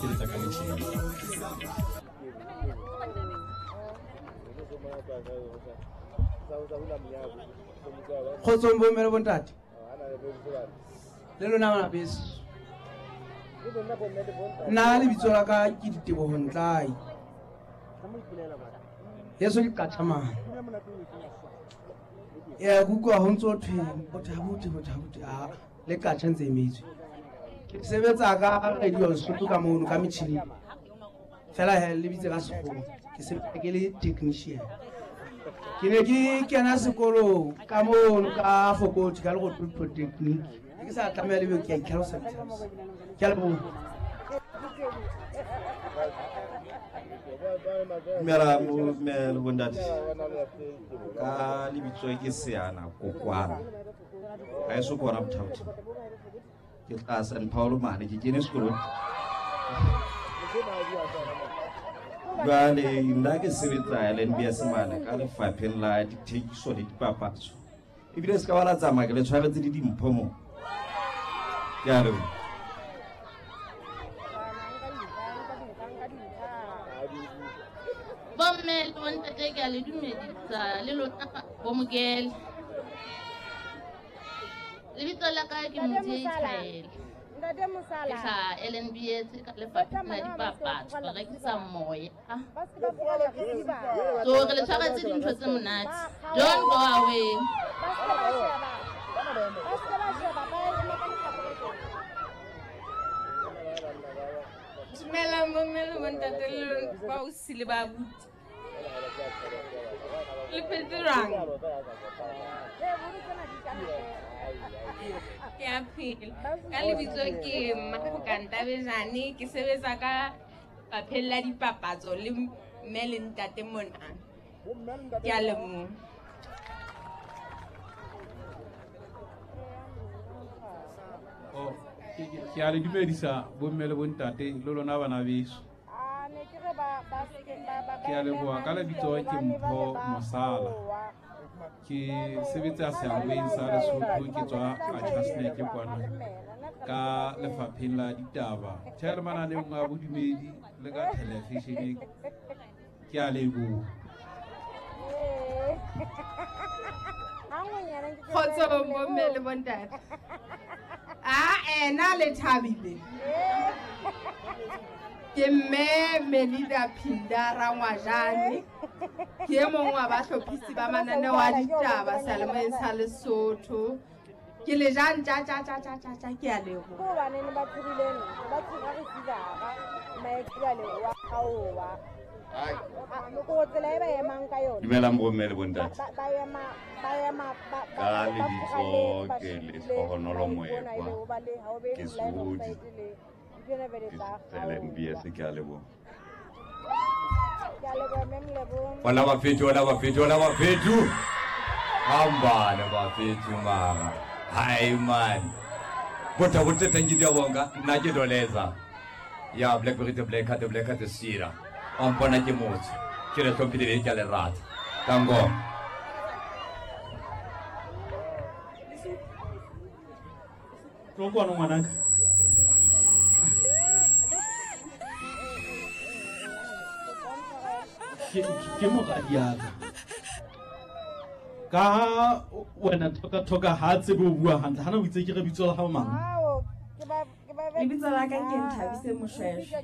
Sebetsa ka metjhini. Kgotsong bomme le bontate le lona bana beso. Nna lebitso la ka ke Diteboho Ntlai, yeso ke qathamane. Ke utlwa ho ntso thwe bothabuti bothabuti a le qatjha ntse emetswe. Ke sebetsa ka radio Lesotho ka mono ka metjhining fela he le bitse ka sekgowa, ke sebetsa ke le technician. Ke ne ke kena sekolo ka mono ka Fokoti ka Lerothodi Polytechnic. Ne ke sa tlameha le ke a itlhalosa itlhalosa. Ke a leboha. Dumela mme le bontate. Ka lebitso ke Seana Kokwana. Ha eso ke hona Bothabothing. Ke tla San Paulo mane, ke kene sekolong. Jwale nna ke sebetsa LNBS mane ka lefapheng la dithekiso le dipapatso. Ebile se ka ba la tsamaya ke le tshwaretse le dimpho mo. Ke a leboha. Bomme le bontate ke a le dumedisa le lona bomokele. Lebitso la ka ke Modiei Thaele. Ke hlaha LNBS ka lefapheng la dipapatso, re rekisa moya. So re le tshwaretse dintho tse monate. Don't go away. Dumelang bomme le bontate le baosi le babuti. Le phetse jwang? Ke a phela. Ka lebitso ke Mmafoka Ntabejane, ke sebetsa ka fapheng la dipapatso le mme le ntate mona. Ke a leboha. Oh, ke a le dumedisa bomme le bontate le lona bana beso. Ke a leboha. Ka lebitso ke Mpho Mosala. Ke sebetsa sealweng sa Lesotho, ke tswa Qachaseneke kwana ka lefapheng la ditaba. Tjhe, le mananeong a bodumedi le ka television. Ke a leboha. Kgotsong bomme le bontate. A ena le thabile. Ke mme Melida Phinda Rangwajane. Ke e mong wa bahlophisi ba mananeo a ditaba seyalemoyeng sa Lesotho. Ke le jang tja tja tja tja tja tja, ke a leboha. Ke hobaneng ba tshohile ba tshoha re sivara maekjale wa kgaowa. Ko tsela e ba emang ka yona. Dumelang bomme le bontate. Ba ema ba ema ba Ka lebitso ke Lehlohonolo Moekwa. Ke Sehodi. Ke LNBS, ke a leboha. Ke a leboha mme Molebo. Hola bafethu, hola bafethu, hola bafethu. Hambana bafethu mara. Hayi man. Bota bota thank you Diabonga. Nna ke Doleza. Ya Blackberry the Black the Black the Sira. Wa mpona ke motho. Ke le hlomphile ke a le rata. Tango. Tlo kwano ngwanaka. Ke moradiaka. Ka wena thoka thoka ha tsebe o bua hantle. Hana o itse ke re bitso la hao mang? Lebitso la ka ke Nthabise Moshweshwe.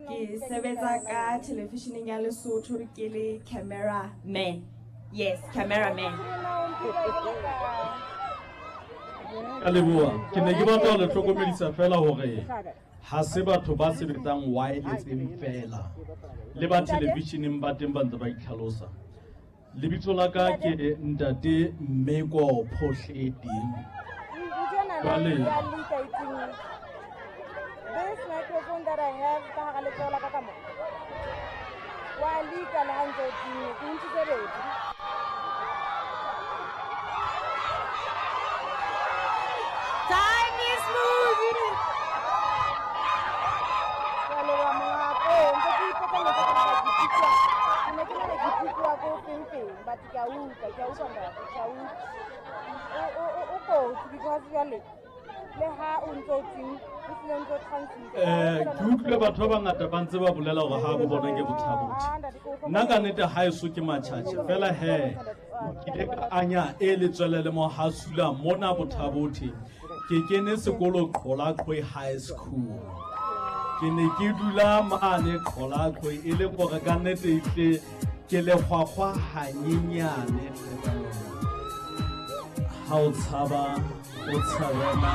Ke sebetsa ka televisioneng ya Lesotho ke le cameraman. Yes, cameraman. Ka leboha. Ke ne ke batla ho le hlokomedisa fela hore ha se batho ba sebetsang wirelesseng fela, le ba televisioneng ba teng ba ntse ba itlhalosa. Lebitso la ka ke Ntate Mmeko Phohledi. Jwale This microphone that I have ka hara letsoho la ka ka mo. Wa lika le ha ntse o timme, ke ntshitse betri. Time is moving. Ke a leboha monga ka. Oh, ntse ke ipotsa ntse ke nahana ke utlwa. Ke ne ke nahana ke utlwa ko feng feng, but ke a utlwa, ke a utlwa ntate, ke a utlwa. O kotsi because jwale le ha o ntso o timme. Ke utlwile batho ba bangata ba ntse ba bolela hore ha bo bona ke Bothabothe. Nna ka nnete haeso ke Matjhatjhe fela he ke ile ka anya e letswele le mohasula mona Bothabothe. Ke kene sekolo Qholaqhwe High School. Ke ne ke dula mane Qholaqhwe e le gore ka nnete ehlile ke lehwahwa hanyenyane hle ka lona. Ha o tshaba o tshabe na.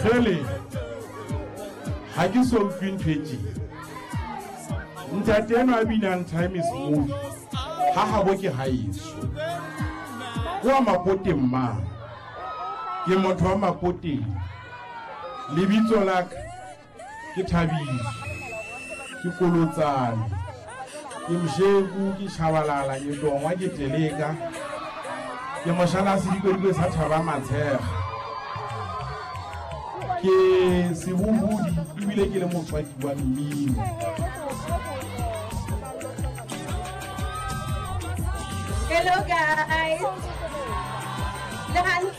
Kgele, ha ke so utlwe ntho e tjena. Ntate enwa a binang Time is Moving, ha habo ke haeso. Ke wa Mapoteng mang? Ke motho wa Mapoteng. Lebitso la ka ke Thabiso, ke Kolotsane, ke Msheku, ke Shabalala, ke Tongwa, ke Teleka, ke moshana sedikodiko sa Thaba Matshega. Ke sebohodi ebile ke le motswaki wa mmino. Hello guys. Le hantle?